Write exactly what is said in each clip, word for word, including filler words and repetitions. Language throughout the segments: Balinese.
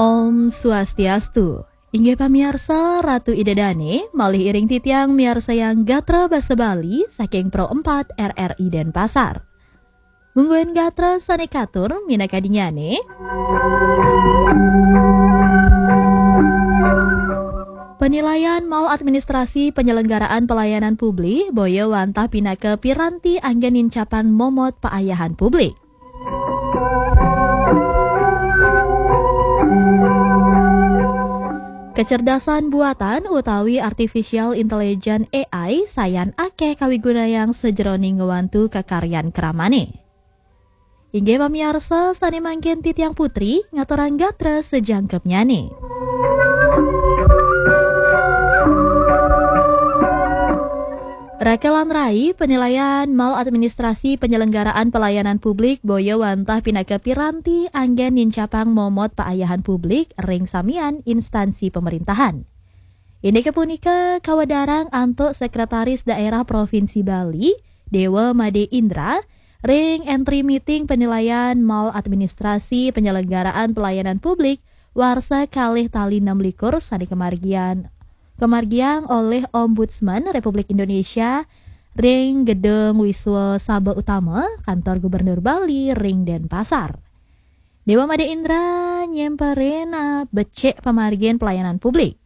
Om Swastiastu. Inggih pamiarsa, Ratu Ida Dane, malih iring titiang miarsayang gatra basa Bali saking Pro empat R R I Denpasar. Mungguing gatra sane katur minakadinnyane. Penilaian mal administrasi penyelenggaraan pelayanan publik boya wantah pinaka piranti anggen nincapang momot paayahan publik. Kecerdasan buatan utawi artificial intelligence A I sayan akeh kawigunayang sajeroning ngwantu kakaryan kramane. Inggih pamiarsa, sane mangkin titiang Putri ngaturang gatra sajangkepnyane. Raka lan rai, penilaian mal administrasi penyelenggaraan pelayanan publik boya wantah pinaka piranti anggen nincapang momot paayahan publik ring samian instansi pemerintahan. Indike punika kawedarang antuk Sekretaris Daerah Provinsi Bali, Dewa Made Indra, ring entry meeting penilaian mal administrasi penyelenggaraan pelayanan publik warsa kalih tali enam likur sane kamargian, kamargiang olih Ombudsman Republik Indonesia ring Gedung Wiswa Sabha Utama, Kantor Gubernur Bali ring Denpasar. Dewa Made Indra nyemperin, ah, becik pamargin pelayanan publik.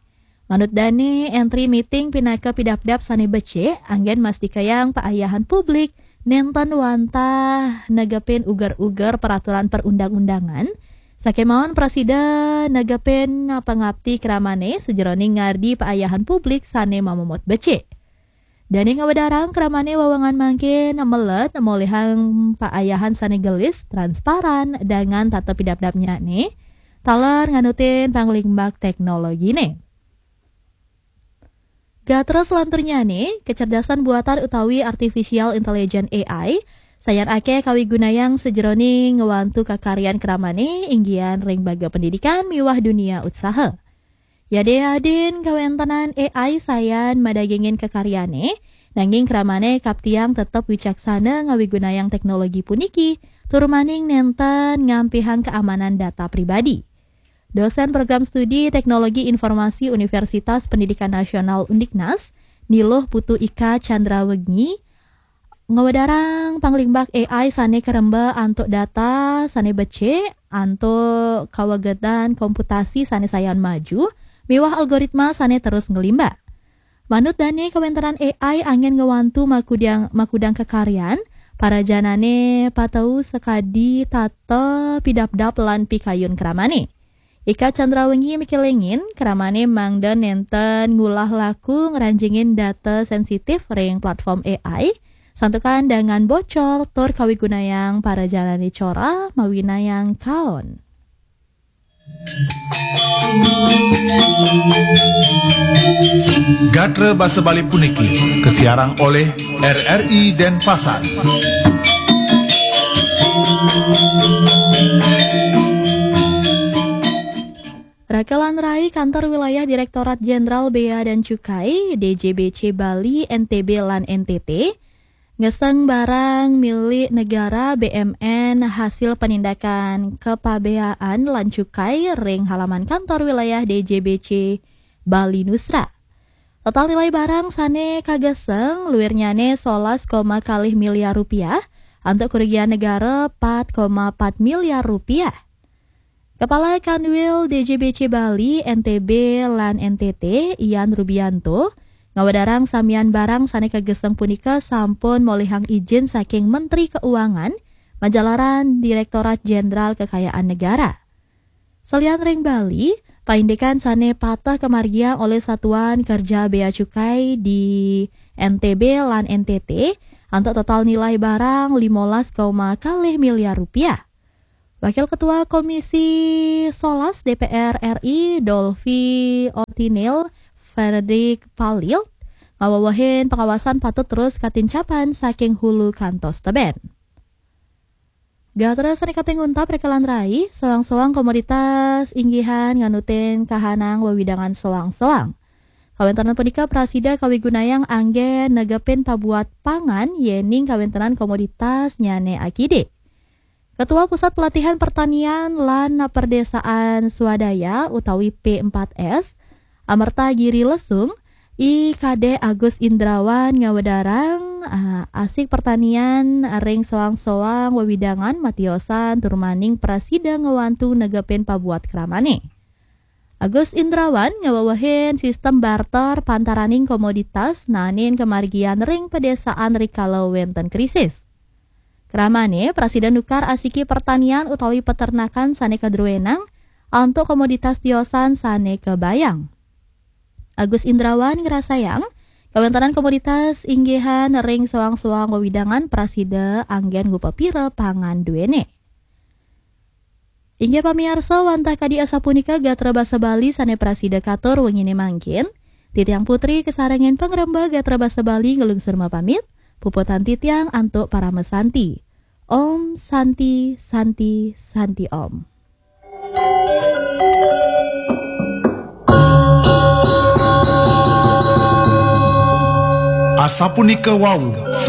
Manut dane, entry meeting pinaka pidabdab sane becik, anggen mastikayang paayahan publik nenten wantah negepin uger-uger peraturan perundang-undangan, sakemawon prasida negepin pangapti kramane sajeroning ngardi paayahan publik sane mamomot becik. Dane ngawedarang kramane wewengan mangkin melet molihang paayahan sane gelis, transparan, dangan tata pidabdabnyane, taler nganutin panglimbak teknologine. Gatra selanturnyane, kecerdasan buatan utawi artificial intelligence A I, sayan akeh kawigunayang sajeroning ngwantu kakaryan kramane inggian ring baga pendidikan miwah dunia utsaha. Yade adin kawentenan A I sayan madagingin kakaryane, nanging kramane kaptiang tetep wicaksana ngawigunayang teknologi puniki, tur maning nenten ngampihang keamanan data pribadi. Dosen Program Studi Teknologi Informasi Universitas Pendidikan Nasional Undiknas, Niluh Putu Ika Chandrawegi, ngawedarang panglimbak A I sane karemba antuk data sane becik, antuk kawegedan komputasi sane sayan maju, miwah algoritma sane terus nglimbak. Manut dane, kawentenan A I anggen ngwantu makudang, makudang kakaryan, parajanane patau sakadi tata pidabdab lan pikayun kramane. Ika Chandrawegi mikelingin, kramane mangda nenten ngulah laku ngranjingin data sensitif ring platform A I, santukan dangan bocor tur kawigunayang parajanane cora mawinayang kaon. Gatra basa Bali puniki kasiarang olih R R I Denpasar. Raka lan rai, Kantor Wilayah Direktorat Jenderal Bea dan Cukai, D J B C Bali, N T B lan N T T, ngeseng barang milik negara, B M N, hasil penindakan kepabeaan lan cukai ring halaman kantor wilayah D J B C Bali Nusra. Total nilai barang sane kageseng luirnyane solas koma kalih miliar rupiah, antuk kerugian negara pat koma pat miliar rupiah. Kepala Kanwil D J B C Bali, N T B, lan N T T, Ian Rubianto, ngawedarang samian barang sane kageseng punika sampun molihang ijin saking Menteri Keuangan, majalaran Direktorat Jenderal Kekayaan Negara. Salian ring Bali, paindikan sane pateh kamargiang olih Satuan Kerja Bea Cukai di N T B lan N T T, antuk total nilai barang limolas koma kalih miliar rupiah. Wakil Ketua Komisi Solas D P R R I, Dolfi Ortinil Frederick Palil, ngawewehin pengawasan patut terus katincapan saking hulu kantos teben. Gatra sane kaping untat, Raka lan rai, soang-soang komoditas inggihan nganutin kahanang wewidangan soang-soang. Kawentenan punika prasida kawigunayang anggen negepin pabuat pangan yening kawentenan komoditasnyane akidik. Ketua Pusat Pelatihan Pertanian lan Perdesaan Swadaya utawi P empat S, Amerta Giri Lesung, I Kadek Agus Indrawan ngawedarang, ah, asik pertanian ring soang-soang wewidangan matiosan tur maning prasida ngwantu negepin pabuat kramane. Agus Indrawan ngawewehin sistem barter pantaraning komoditas naenin kamargian ring pedesaan rikala wenten krisis. Kramane prasida nukar asiki pertanian utawi peternakan sane kadruenang antuk komoditas tiosan sane kabayang. Agus Indrawan ngrasayang kawentenan komoditas inggihan ring soang-soang wewidangan prasida anggen ngupapira pangan duene. Inggih pamiarsa, wantah kadi asapunika gatra basa Bali sane prasida katur wengine mangkin. Titiang Putri kasarengin pangrembag gatra basa Bali nglungsur mapamit. Puputang titiang antuk parama santi. Om Santi, Santi, Santi Om. Asapunika wau